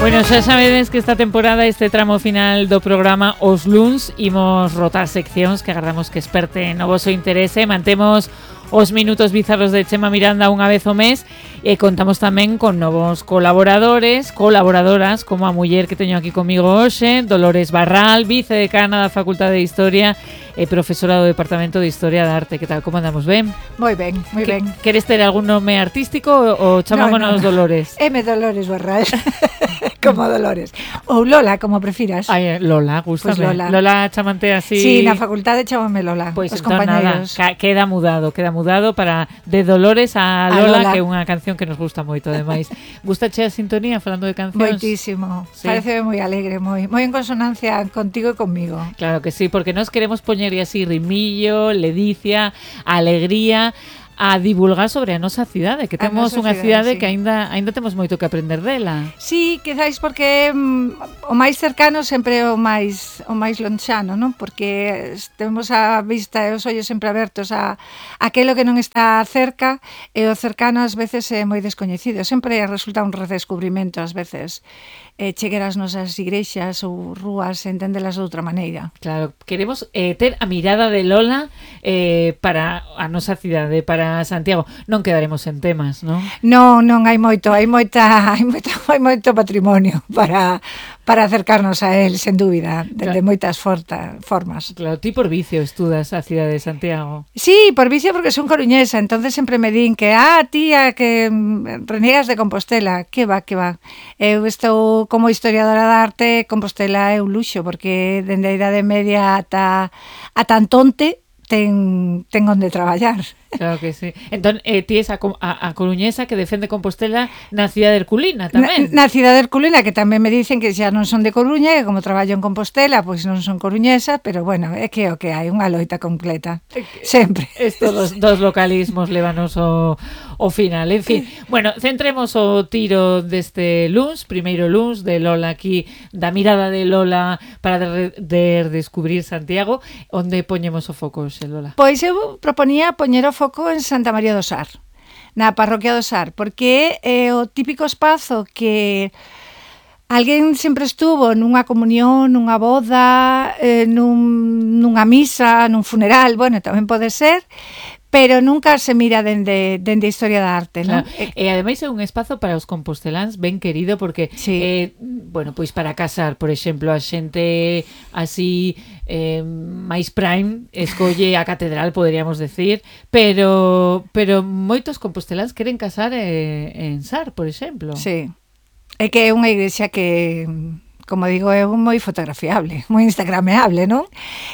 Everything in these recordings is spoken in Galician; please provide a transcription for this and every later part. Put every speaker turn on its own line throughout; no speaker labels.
Bueno, xa sabedes que esta temporada, este tramo final do programa Os Luns, imos rotar seccións que agardamos que esperte no voso interese. Mantemos os minutos bizarros de Chema Miranda unha vez ao mes e contamos tamén con novos colaboradores, colaboradoras, como a muller que teño aquí comigo hoxe, Dolores Barral, vicedecana da Facultade de Historia e profesora do Departamento de Historia da Arte. Que tal, como andamos, ben?
Moi ben, moi ben.
Queres ter algún nome artístico ou chamámonos
No.
Dolores?
M. Dolores Barral. Como Dolores. Ou Lola, como prefiras.
Ai, Lola, gústame.
Pues Lola.
Lola chamante así.
Sí, na facultade chamame Lola.
Pois
os
entón
compañeros.
nada, queda mudado para de Dolores a Lola,
Lola.
que é unha canción que nos gusta moito, ademais. Gustache a sintonía falando de cancións?
Moitísimo.
Sí.
Parece moi alegre, moi en consonancia contigo e conmigo.
Claro que sí, porque nos queremos poñerlle así rimillo, ledicia, alegría, a divulgar sobre a nosa cidade, que
A
temos
nosa
unha
cidade,
cidade
sí.
que aínda temos moito que aprender dela.
Sí, quizáis porque o máis cercano sempre é o máis lonxano, non? Porque temos a vista e os ollos sempre abertos a aquilo que non está cerca, e o cercano ás veces é moi descoñecido. Sempre resulta un redescubrimento ás veces chegar ás nosas igrexas ou rúas e entendelas de outra maneira.
Claro, queremos ter a mirada de Lola para a nosa cidade, para Santiago. Non quedaremos en temas, non?
Non, hai moito patrimonio para acercarnos a él, sen dúbida, de moitas formas.
Claro, ti por vicio estudas a cidade de Santiago.
Sí, por vicio porque son coruñesa, entonces sempre me din que tía, que reniegas de Compostela. Que va. Eu estou como historiadora de arte, Compostela é un luxo, porque dende a Idade Media ata Antonte ten onde traballar.
Claro que sí. Entón, ti es a coruñesa que defende Compostela na cidade herculina tamén.
Na cidade herculina, que tamén me dicen que xa non son de Coruña, que como traballo en Compostela, pois non son coruñesa, pero bueno, é que o que hai, unha loita completa. Sempre.
Estos dos localismos lévanos ao final. En fin, bueno, centremos o tiro deste luns, primeiro luns de Lola aquí, da mirada de Lola para descubrir Santiago. Onde poñemos o foco, Lola?
Pois eu proponía poñer o foco en Santa María do Sar, na parroquia do Sar, porque é o típico espazo que alguén sempre estuvo nunha comunión, nunha boda, nunha misa, nun funeral, bueno, tamén pode ser, pero nunca se mira dende a historia da arte, non?
Claro. E ademais é un espazo para os composteláns ben querido, porque
sí.
Bueno, pois para casar, por exemplo, a xente así máis prime escolle a catedral, poderíamos decir, pero moitos composteláns queren casar en Sar, por exemplo.
Sí. É que é unha igrexa que, como digo, é moi fotografiable, moi instagrameable, non?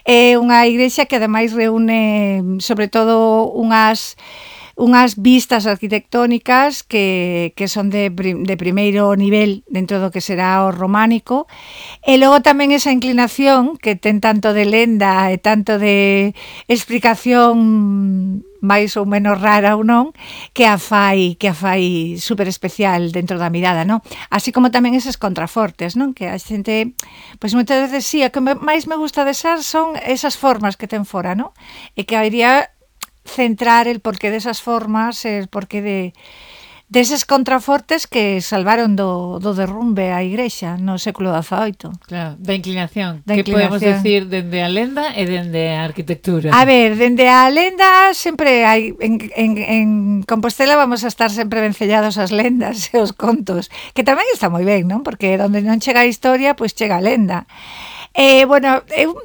É unha igrexa que ademais reúne sobre todo unhas vistas arquitectónicas que son de primeiro nivel dentro do que será o románico, e logo tamén esa inclinación que ten tanto de lenda e tanto de explicación máis ou menos rara ou non, que a fai super especial dentro da mirada, non? Así como tamén eses contrafortes, non? Que a xente, pois moitas veces sí, a que máis me gusta de Sar son esas formas que ten fora, non? E que habría centrar el porqué desas formas, el porqué deses contrafortes que salvaron do derrumbe a igrexa no século XVIII.
Claro, da inclinación. Que podemos decir dende a lenda e dende a arquitectura?
A ver, dende a lenda sempre hai, en Compostela vamos a estar sempre vencellados as lendas e os contos, que tamén está moi ben, non? Porque onde non chega a historia, pois chega a lenda. Bueno, eu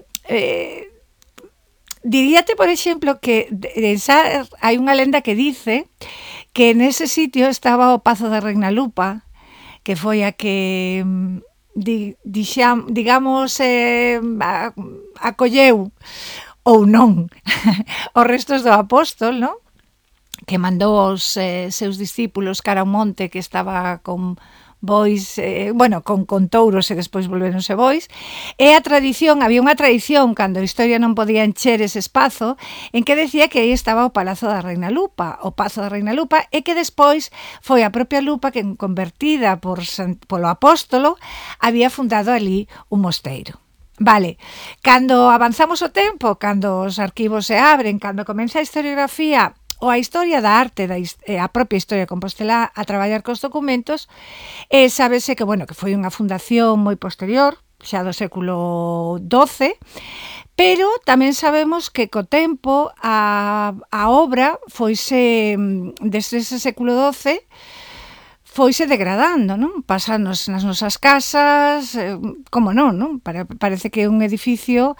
diríate, por exemplo, que hai unha lenda que dice que nese sitio estaba o Pazo da Reina Lupa, que foi a que, digamos, acolleu ou non os restos do apóstol, non? Que mandou os seus discípulos cara ao monte, que estaba con bois, con touros e despois volveronse bois. E había unha tradición cando a historia non podía encher ese espazo, en que decía que aí estaba o Palazo da Reina Lupa, o Pazo da Reina Lupa, e que despois foi a propia Lupa que, convertida polo apóstolo, había fundado ali un mosteiro. Vale, cando avanzamos o tempo, cando os arquivos se abren, cando comeza a historiografía ou a historia da arte, a propia historia de Compostela a traballar cos documentos, sábese que, bueno, que foi unha fundación moi posterior, xa do século XII, pero tamén sabemos que co tempo a obra foise, desde ese século XII, foise degradando, non? Pasanos nas nosas casas, como non? Parece que un edificio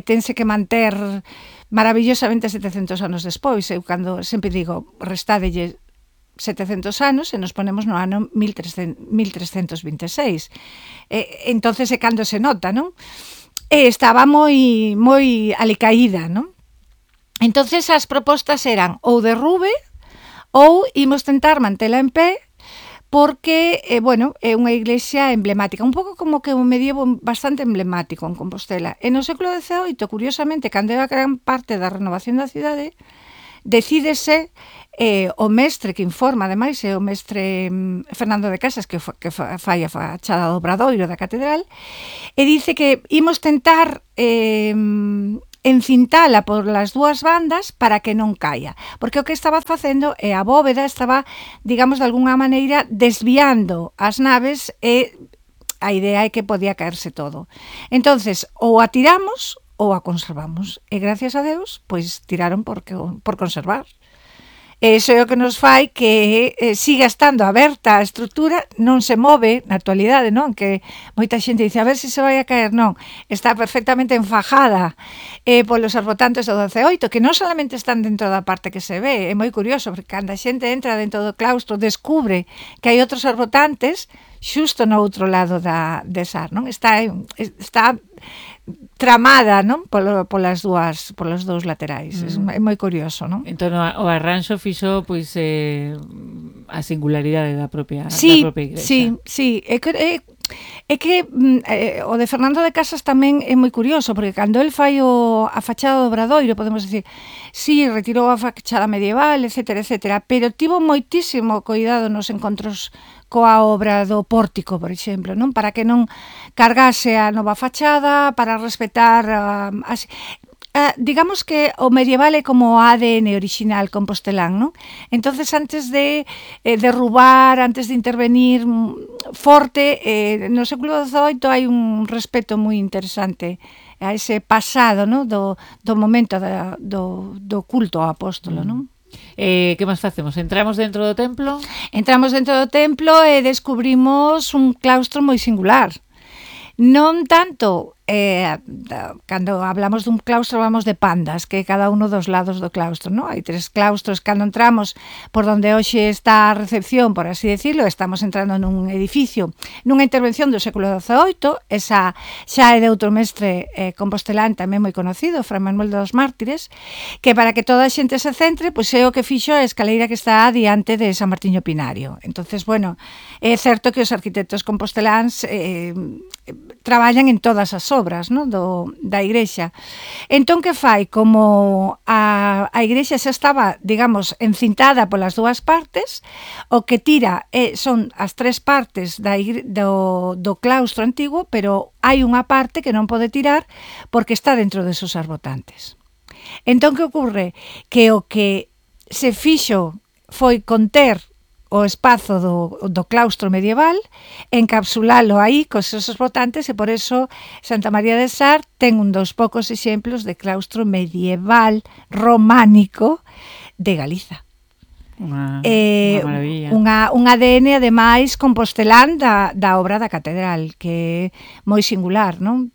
tense que manter maravillosamente 700 anos despois. Eu cando sempre digo, restádelle 700 anos e nos ponemos no ano 1326. Entonces é cando se nota, non? Estaba moi alicaída, non? Entonces as propostas eran ou derrube ou imos tentar mantela en pé, porque, bueno, é unha iglesia emblemática, un pouco como que un medievo bastante emblemático en Compostela. E no século XVIII, curiosamente, cando era gran parte da renovación da cidade, decídese o mestre que informa, ademais, é o mestre Fernando de Casas, que fai a fachada do Obradoiro da catedral, e dice que imos tentar encintala por las dúas bandas para que non caia, porque o que estaba facendo é a bóveda estaba, digamos, de alguna maneira desviando as naves e a idea é que podía caerse todo. Entonces, ou a tiramos ou a conservamos, e gracias a Deus, pois tiraron por conservar. Iso é o que nos fai que siga estando aberta a estrutura, non se move na actualidade, non? Que moita xente dice, a ver se vai a caer, non. Está perfectamente enfajada polos arbotantes do XVIII, que non solamente están dentro da parte que se ve, é moi curioso, porque cando a xente entra dentro do claustro, descubre que hai outros arbotantes xusto no outro lado de Sar, non? Está tramada, non? Polos dous laterais. É moi curioso, non?
Entón o arranxo fixo pois a singularidade da propia igrexa.
Sí. É que o de Fernando de Casas tamén é moi curioso, porque cando el fai a fachada do Obradoiro, podemos dicir, sí, retirou a fachada medieval, etcétera, pero tivo moitísimo cuidado nos encontros coa obra do pórtico, por exemplo, non? Para que non cargase a nova fachada, para respetar digamos que o medieval é como o ADN original compostelán, non? Entonces, antes de derrubar, antes de intervenir forte, no século XVIII hai un respeto moi interesante a ese pasado, non? Do momento do culto ao apóstolo, non?
Que máis facemos? Entramos dentro do templo?
Entramos dentro do templo e descubrimos un claustro moi singular. Non tanto, cando hablamos dun claustro hablamos de pandas, que é cada uno dos lados do claustro, non? Hai 3 claustros, cando entramos por donde hoxe está a recepción, por así decirlo, estamos entrando nun edificio, nunha intervención do século XVIII, esa xa é de outro mestre compostelán tamén moi conocido, Fray Manuel dos Mártires, que para que toda a xente se centre, pois é o que fixo a escaleira que está diante de San Martiño Pinario. Entonces, bueno, é certo que os arquitectos composteláns traballan en todas as obras, non? Da igrexa. Entón, que fai? Como a igrexa xa estaba, digamos, encintada polas dúas partes, o que tira son as 3 partes do claustro antigo, pero hai unha parte que non pode tirar porque está dentro desos arbotantes. Entón, que ocorre? Que o que se fixo foi conter o espazo do claustro medieval, encapsulalo aí cos seus votantes, e por eso Santa María de Sar ten un dos poucos exemplos de claustro medieval románico de Galiza.
Unha maravilla.
Un ADN, ademais, compostelán da obra da catedral, que é moi singular, non?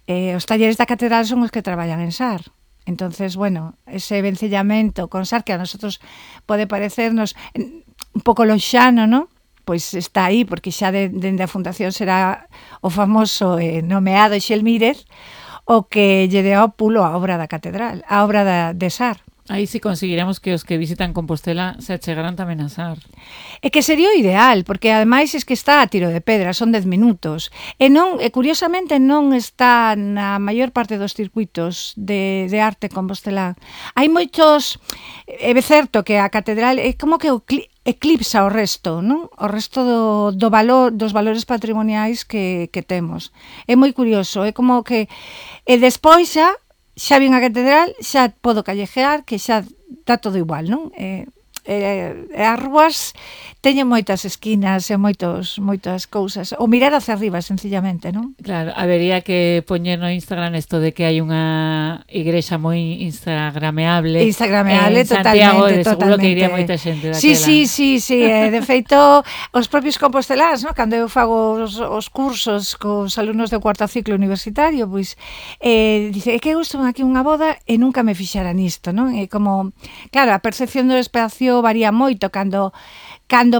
Os talleres da catedral son os que traballan en Sar. Entonces, bueno, ese vencellamento con Sar, que a nosotros pode parecernos un pouco lonxano, non? Pois está aí, porque xa dende a fundación será o famoso nomeado Xelmírez o que lle deu ao pulo a obra da catedral, a obra de Sar.
Aí si conseguiremos que os que visitan Compostela se achegaran tamén a Sar.
É que sería o ideal, porque ademais é que está a tiro de pedra, son 10 minutos. E curiosamente non está na maior parte dos circuitos de arte compostelán. Hai moitos, é certo que a catedral é como que eclipsa o resto, non? O resto dos valores patrimoniais que temos. É moi curioso, é como que despois xa xa vin a catedral, xa podo callejear, que xa está todo igual, non? As rúas teñen moitas esquinas e moitas cousas. O mirar hacia arriba, sencillamente, non?
Claro, habería que poñer no Instagram isto de que hai unha igrexa moi instagrameable.
Instagrameable,
en Santiago,
totalmente.
Seguro que iría moita xente daquela.
Sí. De feito, os propios composteláns, non? Cando eu fago os cursos cos alumnos do cuarto ciclo universitario, pois dice, que eu estou aquí unha boda e nunca me fixara nisto, non? É como, claro, a percepción do espacio varía moito cando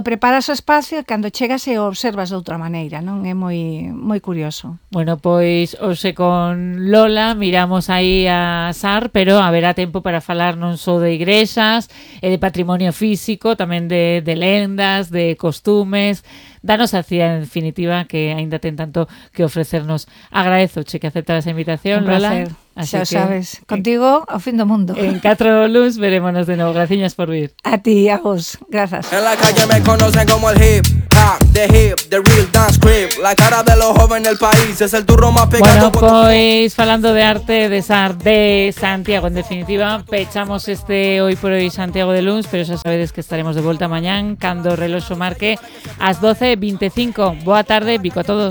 preparas o espacio e cando chegas e o observas de outra maneira, non? É moi curioso.
Bueno, pois hoxe con Lola miramos aí a SAR, pero haberá tempo para falar non só de igrexas e de patrimonio físico, tamén de lendas, de costumes. Danos a cía, en definitiva, que aínda ten tanto que ofrecernos. Agradezo che que aceptaras a invitación, Lola.
Xa sabes, contigo ao fin do mundo.
En 4 luns verémonos de novo. Graciñas por vir.
A ti, a vos. Grazas.
En la calle me conocen como el hip hop, the real dance creep. La cara de los jóvenes del país es el turro más pegado.
Bueno, pois falando de arte, de SAR, de Santiago, en definitiva, pechamos este hoy por hoy Santiago de Luns, pero xa sabedes que estaremos de volta mañán cando o reloxo marque as 12:25. Boa tarde, bico a todos.